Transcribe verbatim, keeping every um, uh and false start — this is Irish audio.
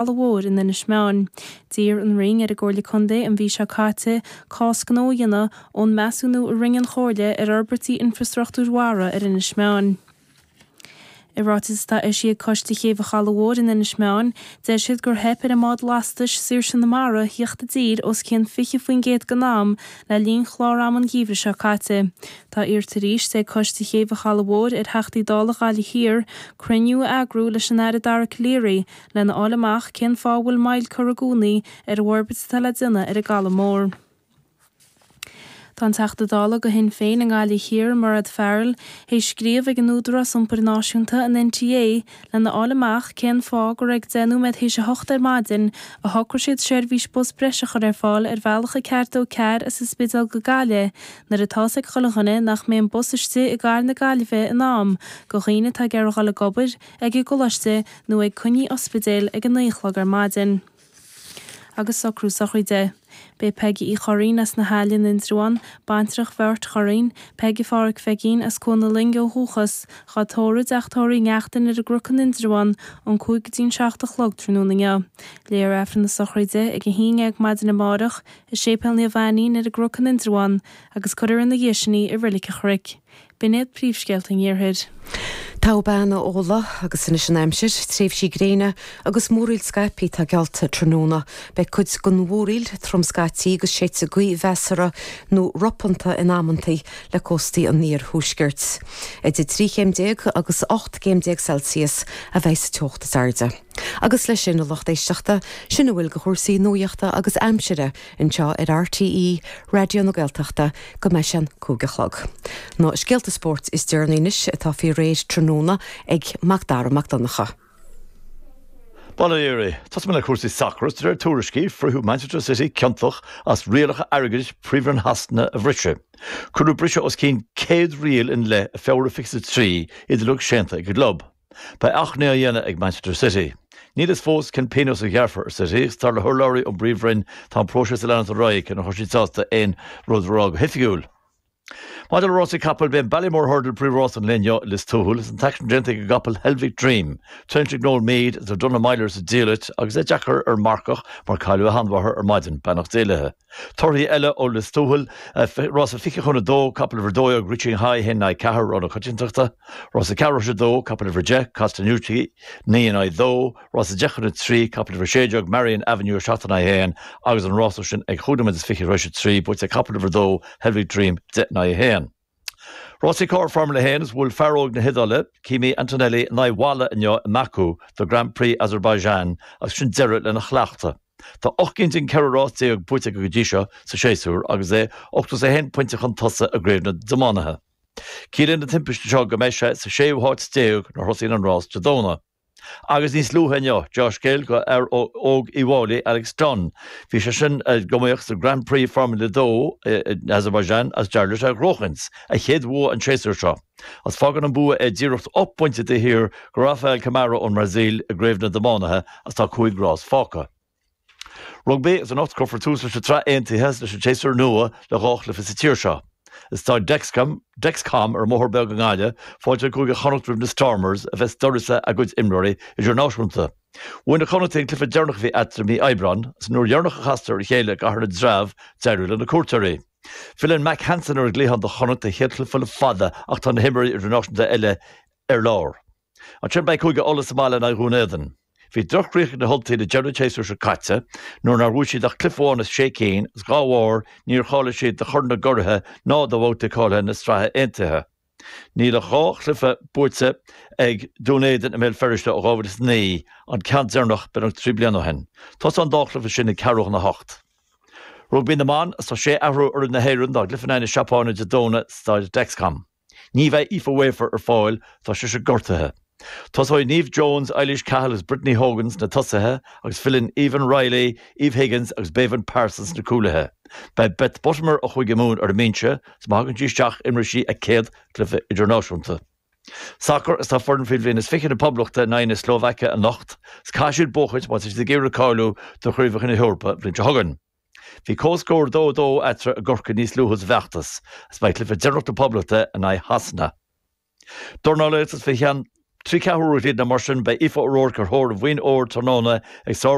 Chaladh Mhóir in Inis Meáin. D'iarr an Roinn ar an gComhairle Contae an mhí seo caite cás gnó a dhéanamh ón measúnú a rinne an Chomhairle ar fhorbairtí infreastruchtúir mhara ar Inis Meáin. I ráiteas atá eisithe ag Coiste Chéibh an Chalaidh Mhóir in Inis Meáin, deir siad gur theip ar an mbád lastais Saoirse na Mara theacht i dtír os cionn fiche faoin gcéad den am le linn chlár ama an gheimhridh seo caite. Tá iarrta arís ag Coiste Chéibh an Chalaidh Mhóir ar Theachtaí Dála Ghaillimh Thiar cruinniú a eagrú leis an Aire Dara Calleary lena fháil amach cén fáth a bhfuil moill curtha i gcónaí ar an bhforbairt atá le déanamh ar an gCaladh Mór. Tá an Teachta Dála do Shinn Féin i nGaillimh Thiar, Mairéad Farrell, théis scríobh ag an Údarás Iompair Náisiúnta an NTA lena fháil amach cén fáth gur ag deich nóiméad théis a hocht ar maidin a shocraigh siad seirbhís bus breise a chur ar fáil ar bhealach a ceathair dó ceathair as an Spidéal go Gaillimh nuair atá a fhios ag chuile dhuine nach mbeidh an bus istigh i gcathair na Gaillimhe in am do dhaoine atá ag iarraidh dul ag obair, ag an gcoláiste nó ag coinní ospidéil ag a naoi a chlog ar maidin. Agus socrú sochraide. Beidh Peigí Uí Churraoin as na hAille in Indreabhán, baintreach Bheairt Churraoin, Peige Pháraic Pheigín as Cuan na Loinge ó dhúchas, dhá tórramh i dTeach Tórraimh Uí Neachtain ar an gCnoc in Indreabhán ón cúig go dtí an seacht a chlog tráthnóna inniu. Léifear Aifreann na sochraide ag a haon déag maidin amárach i Séipéal Naomh Ainnín ar an gCnoc in Indreabhán agus cuirfear ina dhiaidh sin í i Reilig an Chnoic. B'in iad príomhscéalta an Iarthair. Togha bean a Fhódhla agus anois an aimsir, tréimhsí gréine agus múraíl scaipthe atá geallta tráthnóna. Beidh cuid den mhúraíl trom scaití agus séidfidh gaoth mheasartha nó ropanta in amantaí le cóstaí an iarthuaiscirt. Idir trí chéim déag agus ocht gcéim déag Celsius a bheidh sa teocht is airde. Agus leis sin a lucht éisteachta, sin a bhfuil de chúrsaí nuachta agus aimsire anseo ar RTÉ Raidió na Gaeltachta go mbeidh sé an cúig a chlog. Na scéalta spóirt is deireanaí anois atá faoi réir tráthnóna ag Macdara Mac Donncha. Bail ó Dhia oraibh, Tosóidh mé le cúrsaí sacair de réir tuairiscí fritheadh Manchester City ciontach as rialacha airgeadais Príomhroinn Shasana a bhriseadh. Cuireadh briseadh os cionn céad riail ina leith i Feabhra fiche a trí iad uilig séanta ag an gclub. Beidh achainí á dhéanamh ag Manchester City. Níl fhios fós cén pionós a ghearrfar ar City agus dar le hurlabhraí ón bPríomhroinn tá an próiseas ag leanacht ar aghaidh cé nár chuir siad sásta aon rud a rá go hoifigiúil. Maidir le rásaí capaill, b'é an Ballymore Hurdle príomhrás an lae inniu i Lios Tuathail is an t-aicsean déanta ag an gcapall Helvick Dream. Traenáilte ag Noel Meade is ar Donagh Meyler sa diallait agus é deacair ar an marcach mar cailleadh a sheanmháthair ar maidin, beannacht Dé léi. Torthaí eile ó Lios Tuathail, rása fiche chun a dó, capall uimhir a dó dhéag Reaching High a haon in aghaidh ceathair, rogha na coitiantachta, rása ceathrú théis a dó, capall uimhir a deich Castanucci naoi in aghaidh dó, rása deich chun a trí, capall uimhir a sé déag Marion Avenue a seacht in aghaidh a haon agus an rása sin ag chúig nóiméad is fiche tar éis a trí, buaite ag capall uimhir a dó Helvick Dream deich in aghaidh a haon. Rásaí carr Formula a haon is bhuail fear óg na hIodáile, Kimi Antonelli, in aghaidh bhalla inniu i mBaku do Grand Prix Azerbaijan agus sin deireadh lena chleachtadh. Tá ocht gcinn den ceithre rás déag buaite aige go dtí seo sa séasúr agus é ochtó is a haon pointe chun tosaigh i gcraobh na dtiománaithe. Ciallaíonn an timpiste seo go mbeidh sé sa séú háit déag nuair a thosaíonn an rás Dé Domhnaigh. Agus níos luaithe inniu, deá-scéal do fhear óg Uíbh Fhailí, Alex Dunne. Bhí sé sin ag iomaíocht sa Grand Prix Formula a dó in Azerbaijan agus d'éirigh leis é a ghnóchaint, a chéad bhua an séasúr seo. Agus fágann an bua é díreach ocht bpointe taobh thiar de Rafael Camara ón mBrasaíl i gcraobh na dtiománaithe agus tá cúig rás fágtha. Rugbaí agus anocht cuirfear tús leis an tSraith Aontaithe agus leis an tséasúr nua le dhá chluiche sa tír seo. I Staid Dexcom, Dexcom ar an mBóthar Beag i nGaillimh, fáilteoidh Cúige Chonnacht roimh na Stormers a bheas d'uireasa a gcuid imreoirí idirnáisiúnta. Bhuaigh na Connachtaigh an cluiche deireanach a bhí eatarthu i mí Aibreáin agus an uair dheireanach a chastar ar a chéile i gCathair na dTreabh d'éirigh le na cuairteoirí. Filleann Mack Hansen ar an gcliathán do Chonnacht don chéad chluiche le fada ach tá na himreoirí idirnáisiúnta eile ar lár. Ansin beidh Cúige Uladh sa mbaile in aghaidh Dhún Éideann. Bhí droch-chríoch ag na hUltaigh le deireadh an tséasúir seo caite nuair nár bhuaigh siad ach cluiche amháin as sé cinn agus dhá bharr níor cháiligh siad do Chorn na gCuraithe ná do bhabhta cáilithe na Sraithe Aontaithe. Níl ach dhá chluiche buaite ag Dún Éideann i mBéal Feirste ó dhá mhíle is a naoi, an ceann deireanach beagnach trí bliana ó shin. Tosóidh an dá chluiche sin ag ceathrú chun a hocht. Rugbaí na mBan, Tá sé athrú ar fhoireann na hÉireann dá gcluiche in aghaidh na Seapáine Dé Domhnaigh sa Staid Dexcom. Ní bheidh Aoife Wafer ar fáil, tá sise gortaithe. Tosóidh Niamh Jones, Eilís Cahill agus Brittany Hogan sna tosaithe agus filleann Aoibheann Reilly, Eve Higgins agus Béibhinn Parsons sna cúlaithe. Beidh Beth Buttimer ó Chúige Mumhan ar an mbinse is má thagann sí isteach imreoidh sí a céad cluiche idirnáisiúnta. Sacar Is tá foireann faoi bhliain is fiche na Poblachta in aghaidh na Slóvaice anocht is caithfidh siad buachaint má tá siad ag iarraidh cáiliú do Chraobhacha na hEorpa an bhliain seo chugainn. Bhí comhscór dó a dó eatarthu i gCorcaigh níos luaithe sa bhfeachtas, agus beidh cluiche deireanach na Poblachta in aghaidh Shasana. Dornálaíocht Is fé cheann Trí ceathrú na mar sin beidh Aoife O'Rourke ar thóir an bhoinn óir tráthnóna ag sár